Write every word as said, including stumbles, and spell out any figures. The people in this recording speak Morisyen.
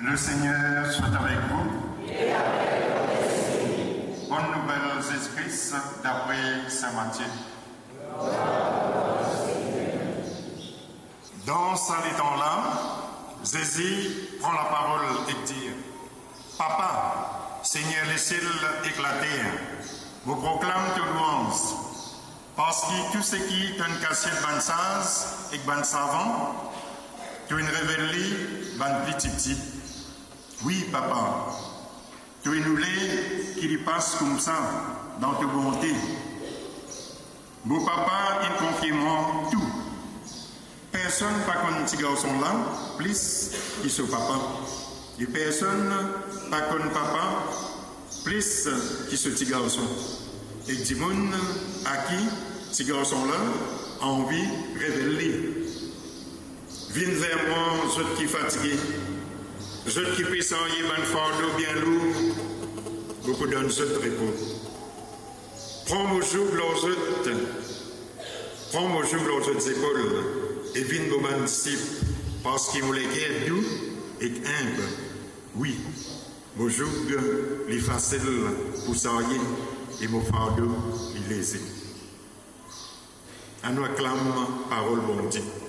Le Seigneur soit avec vous. Bonne nouvelle Jésus-Christ d'après Saint Matthieu. Dan sa letan la, Zezi pran laparol ek dir, "Papa, Segner lesiel ek later, mo proklam to lwanz, parski tou seki to inn kasiet bann saz ek bann savan, to inn revel li bann pli tipti. Wi, Papa, to inn oule ki li pas koumsa dan to bonte. Mo Papa inn konfie mwa tou. Personn pa konn Tigarson la plis ki so Papa, e personn pa konn Papa plis ki so Tigarson, ek dimoun a ki Tigarson la anvi revel li. Vinn ver mwa, zot ki fatige, zot ki pe sarye bann fardo bien lour, mo pou donn zot repo. Pran mo zoug lor zot, pran mo zoug lor zot zepol, e vinn mo bann disip, parski mo leker dou ek inb. Wi, mo zoug li fasil pou sarye, e mo fardo li leze." Anou aklam parol Bondie.